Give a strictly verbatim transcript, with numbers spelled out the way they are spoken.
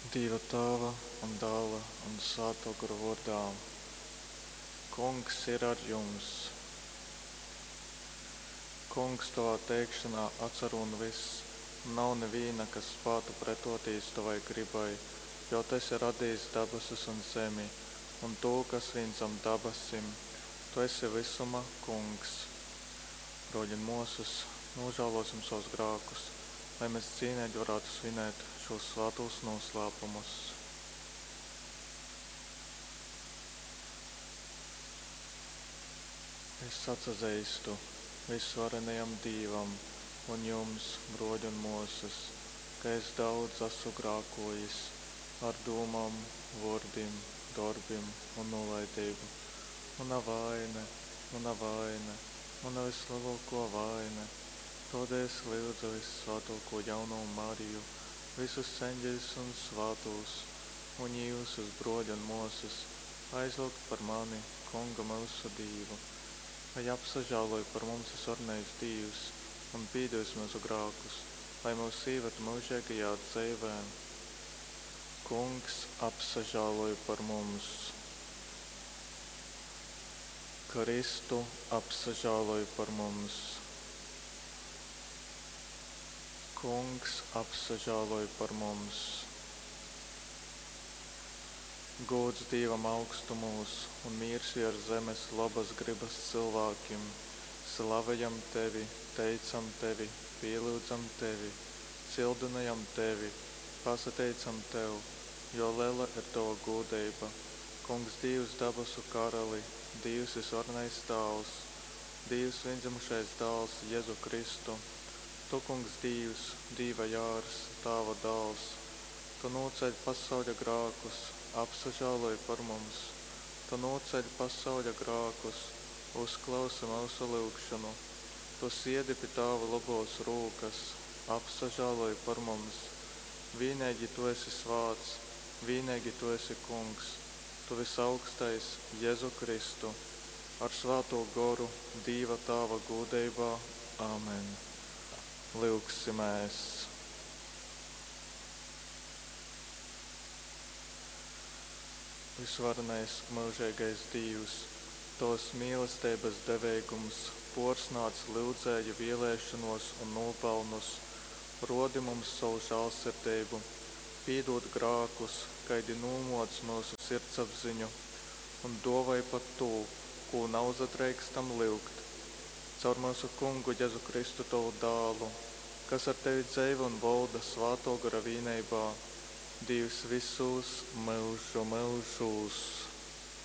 Dīva Tāva un Dāla un Svātō Gora vōrdā. Kungs ir ar jums. Kungs, tovā teikšanā atsarūn vyss, un nav nivīna, kas spātu pretotīs tovai grybai, jo tu esi radījis dabasus un zemi, un tū, kas vīn zam dabasim. Tu esi vysuma kungs. Brōļi un mōsas, nožēlosim savus grākus, lai mēs cīnīgi varētu svinēt šos svātos noslēpumus. Es atsazeistu visvarenajam Dīvam un jums, brōļi un mōsas, ka es daudz esmu grākojis ar dūmām, vōrdim, dorbim un nolaidību. Muna vaine, muna vaine, muna vislielākā vaine. Tādēļ es lyudzu vissvātāko jauno Mariju, visus eņģeļus un svātos, un jūsus, brōļi un mōsas, aizlūgt par mani, Kungu myusu Dīvu. Lai apsažāloj par mums visvarenais Dīvs un pīdevis mūsu grākus, lai mūs īved mūžīgajā dzīvē. Kungs apsažāloj par mums. Kristu apsažāloj par mums. Kungs apsažāloj par mums. Gods Dīvam augstumūs un mīrs viers zemes labas gribas cilvēkiem. Slavējam tevi, teicam tevi, pielūdzam tevi, cildinājam tevi, pasateicam tev, jo liela ir tava gūdība. Kungs Dīvs dabasu karali, Dīvs visvarenais Tāvs, Dīvs viendzimušais dāls Jēzu Kristu. Tu, Kungs Dīvs, Dīva jārs, Tāva dāls, Tu nocēļ pasauļa grākus, apsažāloj par mums. Tu nocēļ pasauļa grākus, uzklausi mūsu lūgšanu. Tu siedi pie Tāva labos rūkas, apsažāloj par mums. Vienīgi Tu esi svāts, vienīgi Tu esi Kungs, Tu visaugstais Jēzu Kristu, ar svāto goru Dīva Tāva gūdeibā. Āmen. Lūgsimies! Visvarenais mūžīgais Dīvs, Tavas mīlestības deveigums porsnāc lyudzēju vēlēšanos un nopelnus, rodi mums savu žālsirdību, pīdod grākus, kaidi nūmoc mūsu sirdsapziņu, un dovai pat tū, kū nauzadreikstam lyugt. Caur mūsu Kungu Jēzu Kristu tavu dālu, kas ar tevi dzeivo un valda svāto gara vīneibā, Dīvs visos myužu myužūs.